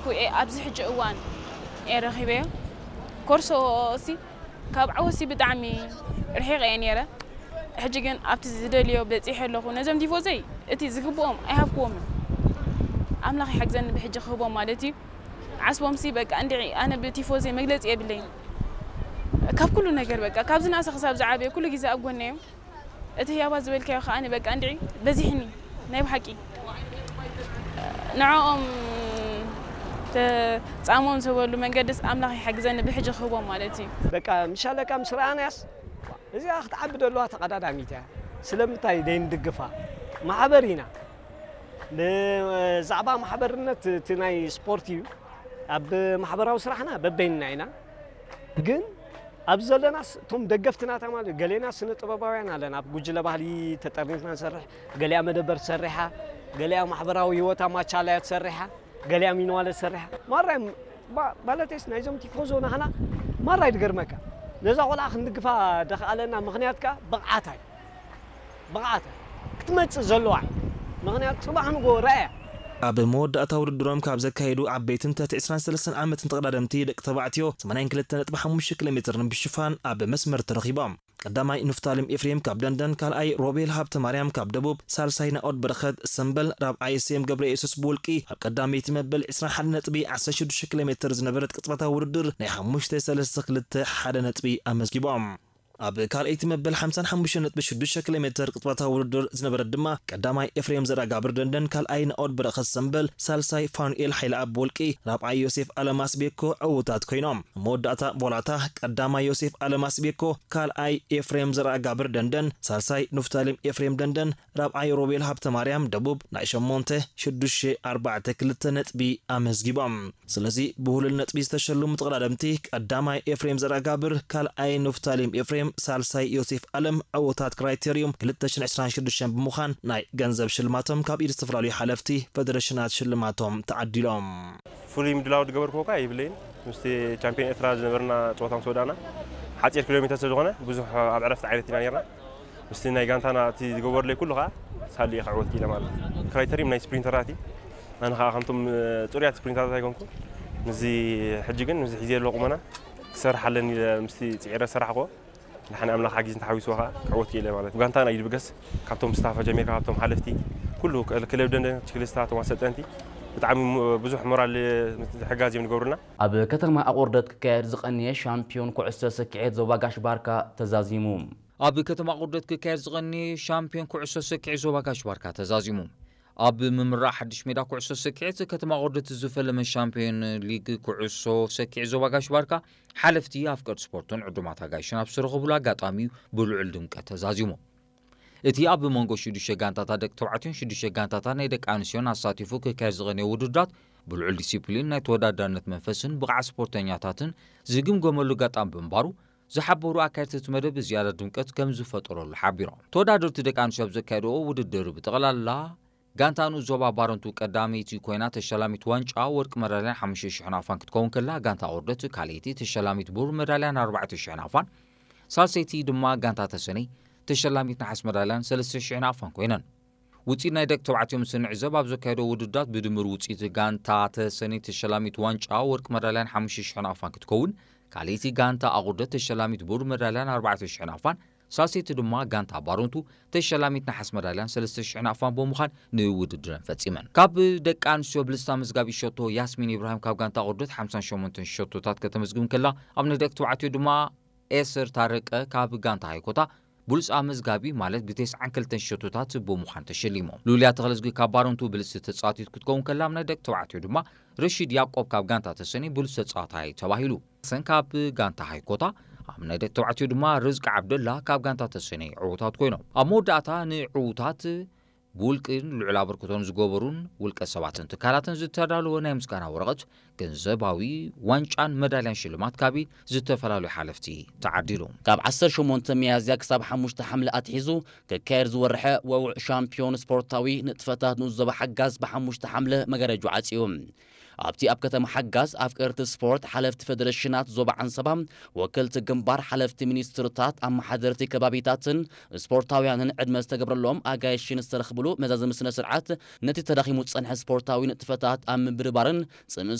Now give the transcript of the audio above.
ኩኤ ኣብዚ ሕጂ እዋን እየ ረኺበዮ። ኮርሶ ሲ ካብ ዓወሲ ብጣዕሚ ርሒቕ እየ ነይረ። ሕጂ ግን ኣብቲ ዝደልዮ በፂሐ ኣለኹ። ነዞም ቲፎዘይ እቲ ዝግብኦም ኣይሃብክዎምን። ኣምላኽ ይሓግዘኒ ብሕጂ ክህቦም ማለት እዩ። ዓስቦም ሲ በቃ እንድዒ ኣነ ብቲፎዘይ መግለፂ የብለይን። ካብ ኩሉ ነገር በቃ ካብ ዝነኣሰ ክሳብ ዝዓበየ ኩሉ ግዜ ኣብ ጎነይ እዮም። እቲ ህያባት ዝበልካዮ ከኣ በቃ እንድዒ በዚሕኒ ናይ ብሓቂ ንዕኦም ተጻሞም ዝበሉ መንገድስ ኣምላኽ ይሓግዘኒ ብሕጂ ክህቦም ማለት እዩ። በቃ ምሻለካ ምስ ረኣናያስ እዚኣ ክትዓቢ ደለዋ ተቐዳዳሚት እያ። ስለምንታይ ደይንድግፋ? ማሕበር ኢና። ብዛዕባ ማሕበርነት እቲ ናይ ስፖርት እዩ። ኣብ ማሕበራዊ ስራሕና በበይንና ኢና። ግን ኣብዚ ዘለናስ እቶም ደገፍቲ ናታ ማለት ገሌና ስነ ጥበባውያን ኣለና። ኣብ ጉጅለ ባህሊ ተጠርኒፍና ንሰርሕ፣ ገሊኣ መደበር ትሰርሕ እያ፣ ገሊኣ ማሕበራዊ ህይወታ ማቻላያ ትሰርሕ እያ፣ ገሊኣ ሚንዋለ ትሰርሕ እያ። ማራይ ማ- ማለተይስ ናይዞም ቲፎዞ ናህና ማራይ ትገርመካ። ነዛ ቆልዓ ክንድግፋ ደኽኣለና ምኽንያት ከኣ ብቕዓታ እዩ። ብቕዓታ ክትመጽእ ዘለዋ እዩ። ምኽንያቱ ጽባሕ ንጎ ረኣያ። ኣብ መወዳእታ ውድድሮም ካብ ዘካየዱ ዓበይትን ትሕቲ ዕስራን ሰለስተን ዓመትን ተቐዳደምቲ ደቂ ተባዕትዮ ሰማንያን ክልተ ነጥቢ ሓሙሽተ ኪሎ ሜትር ብሽፋን ኣብ መስመር ተረኺቦም። ቀዳማይ ንፍታሌም ኤፍሬም ካብ ደንደን፣ ካልኣይ ሮቤል ሃብተ ማርያም ካብ ደቡብ፣ ሳልሳይ ናኦድ በረኸት ሰምበል፣ ራብዓይ ሴም ገብረ የሱስ ብውልቂ ኣብ ቀዳመይቲ መበል ዕስራን ሓደን ነጥቢ ዓሰርተ ሽዱሽተ ኪሎ ሜትር ዝነበረት ቅጽበታዊ ውድድር ናይ ሓሙሽተ ሰለስተ ክልተ ሓደ ነጥቢ ኣመዝጊቦም። ኣብ ካልኣይቲ መበል ሓምሳን ሓሙሽተን ነጥቢ ሽዱሽተ ኪሎ ሜትር ቅጽበታዊ ውድድር ዝነበረት ድማ ቀዳማይ ኤፍሬም ዘርኣጋብር ደንደን፣ ካልኣይ ናኦድ በረኸት ሰምበል፣ ሳልሳይ ፋኑኤል ሓይለኣብ ብውልቂ፣ ራብዓይ ዮሴፍ ኣለማስ ቤኮ ዕዉታት ኮይኖም። ኣብ መወዳእታ ቮላታ ቀዳማይ ዮሴፍ ኣለማስ ቤኮ፣ ካልኣይ ኤፍሬም ዘርኣጋብር ደንደን፣ ሳልሳይ ንፍታሌም ኤፍሬም ደንደን፣ ራብዓይ ሮቤል ሃብተ ማርያም ደቡብ ናይ ሸሞንተ ሽዱሽተ ኣርባዕተ ክልተ ነጥቢ ኣመዝጊቦም። ስለዚ ብሁሉል ነጥቢ ዝተሸለሙ ተቐዳደምቲ ቀዳማይ ኤፍሬም ዘርኣጋብር፣ ካልኣይ ንፍታሌም ኤፍሬም፣ ሳልሳይ ዮሴፍ ኣለም ዕዉታት ክራይቴርዩም ክልተ ሽሕን ዕስራን ሽዱሽተን ብምዃን ናይ ገንዘብ ሽልማቶም ካብ ኢድ ዝተፈላለዩ ሓለፍቲ ፈደረሽናት ሽልማቶም ተዓዲሎም። ፍሉይ ምድላው ዝገበርክዎ እኳ የብለይን። ምስቲ ቻምፒዮን ኤርትራ ዝነበርና ጸወታ ምስ ወዳእና ሓጺር ኪሎ ሜትር ስለ ዝኾነ ብዙሕ ኣብ ዕረፍቲ ዓይነት ኢና ነርና። ምስቲ ናይ ጋንታና እቲ ዝገበርለይ ኩሉ ከኣ ሳልየ ክዕወት ክኢለ ማለት እዩ። ክራይተሪም ናይ ስፕሪንተራት እዩ። ኣነ ከኣ ከምቶም ጽሩያት ስፕሪንተራት ኣይኮንኩ። ምስዚ ሕጂ ግን ምስዚ ሒዘ ዘለኹ ቁመና ክሰርሕ ኣለኒ ኢለ ምስቲ ጽዒረ ዝሰራሕክዎ ድሓን ኣምላኽ ሓጊዝን ተሓዊስዎ ከኣ ክዕወት ክኢለ ማለት እዩ። ጋንታና እዩ ዝብገስ። ካብቶም ስታፍ ጀሚርካ ካብቶም ሓለፍቲ ኩሉ ክለብ ደንደን ችክሊስታ እቶም ኣሰልጠንቲ ብጣዕሚ ብዙሕ ሞራል ምትሕጋዝ እዮም ዝገብሩና። ኣብ ከተማ ኣቑርደት ክካየድ ዝቐነየ ሻምፒዮን ኩዕሶ ስክዔት ዞባ ጋሽ ባርካ ተዛዚሙ። ኣብ ከተማ ኣቑርደት ክካየድ ዝቐነየ ሻምፒዮን ኩዕሶ ስክዔት ዞባ ጋሽ ባርካ ተዛዚሙ። ኣብ ምምራቕ ሓድሽ ሜዳ ኩዕሶ ስክዔት ከተማ ኣቑርደት ዝፈለመ ሻምፒዮን ሊግ ኩዕሶ ስክዔት ዞባ ጋሽ ባርካ ሓለፍቲ ኣፍቀርቲ ስፖርትን ዕዱማት ኣጋይሽን ኣብ ዝተረኸብሉ ኣጋጣሚ እዩ ብልዑል ድምቀት ተዛዚሙ። እቲ ኣብ መንጎ ሽዱሽተ ጋንታታት ደቂ ተባዕትዮን ሽዱሽተ ጋንታታት ናይ ደቂ ኣንስትዮን ኣሳቲፉ ክካየድ ዝቐነየ ውድድራት ብልዑል ዲሲፕሊን ናይ ተወዳዳርነት መንፈስን ብቕዓት ስፖርተኛታትን ዝግምገመሉ ኣጋጣሚ ብምንባሩ ዝሓበሩ ኣካየድቲ እቲ መደብ ብዝያዳ ድምቀት ከም ዝፈጠረሉ ሓቢሮም። ተወዳደርቲ ደቂ ኣንስትዮ ኣብ ዘካየድኦ ውድድር ብጠቕላላ ጋንታ ንኡስ ዞባ ባረንቱ ቀዳመይቲ ኮይና ተሸላሚት ዋንጫ ወርቂ መዳልያን ሓሙሽተ ሽሕ ናቕፋን ክትከውን ከላ፣ ጋንታ ኣቑርደት ካልኣይቲ ተሸላሚት ብሩር መዳልያን ኣርባዕተ ሽሕ ናቕፋን፣ ሳልሰይቲ ድማ ጋንታ ተሰነይ ተሸላሚት ነሓስ መዳልያን ሰለስተ ሽሕ ናቕፋን ኮይነን። ውፅኢት ናይ ደቂ ተባዕትዮ ምስ እንዕዘብ ኣብ ዘካየዶ ውድድራት ብድምር ውፅኢት ጋንታ ተሰነይ ተሸላሚት ዋንጫ ወርቂ መዳልያን ሓሙሽተ ሽሕ ናቕፋን ክትከውን፣ ካልኣይቲ ጋንታ ኣቑርደት ተሸላሚት ብሩር መዳልያን ኣርባዕተ ሽሕ ናቕፋን፣ ሳልሰይቲ ድማ ጋንታ ባረንቱ ተሸላሚት ነሓስ መዳልያን ሰለስተ ሽሕ ናቕፋን ብምዃን ንውድድረን ፈጺመን። ካብ ደቂ ኣንስትዮ ብልፅቲ ኣመዝጋቢ ሸቶ ያስሚን ኢብራሂም ካብ ጋንታ ኣቑርደት ሓምሳን ሸሞንተን ሸቶታት ከተመዝግብ እንከላ፣ ኣብ ናይ ደቂ ተባዕትዮ ድማ ኤስር ታረቀ ካብ ጋንታ ሃይኮታ ብሉጽ ኣመዝጋቢ ማለት ብተስዓን ክልተን ሸቶታት ብምዃን ተሸሊሞም። ሉልያ ተኽለዝጊ ካብ ባረንቱ ብልጽቲ ተጻዋቲት ክትከውን ከላ፣ ኣብ ናይ ደቂ ተባዕትዮ ድማ ረሺድ ያዕቆብ ካብ ጋንታ ተሰነይ ብሉጽ ተጻዋታይ ተባሂሉ። ሰን ካብ ጋንታ ሃይኮታ ኣብ ናይ ደቂ ተባዕትዮ ድማ ርዝቂ ዓብደላ ካብ ጋንታ ተሰነይ ዕዉታት ኮይኖም። ኣብ መወዳእታ ንዕዉታት ብውልቅን ልዑል ኣበርክቶን ዝገበሩን ውልቀ ሰባትን ትካላትን ዝተዳለወ ናይ ምስጋና ወረቐት፣ ገንዘባዊ ዋንጫን መዳልያን ሽልማት ካብ ዝተፈላለዩ ሓለፍቲ ተዓዲሉ። ካብ ዓሰርተ ሸሞንተ ሚያዝያ ክሳብ ሓሙሽተ ሓምለ ኣትሒዙ ክካየድ ዝወርሐ ወውዕ ሻምፒዮን ስፖርታዊ ንጥፈታት ንኡስ ዞባ ሓጋዝ ብሓሙሽተ ሓምለ መጋረጅኡ ዓጽዩ። ኣብቲ ኣብ ከተማ ሓጋዝ ኣፍቀርቲ ስፖርት፣ ሓለፍቲ ፌደሬሽናት ዞባ ዓንሰባ፣ ወከልቲ ግንባር፣ ሓለፍቲ ሚኒስትርታት፣ ኣመሓደርቲ ከባቢታትን ስፖርታውያንን ዕድመ ዝተገብረሎም ኣጋይሽን ዝተረኽብሉ መዛዘሚ ስነ ስርዓት፣ ነቲ ተዳኺሙ ዝጸንሐ ስፖርታዊ ንጥፈታት ኣብ ምብርባርን ጽምእ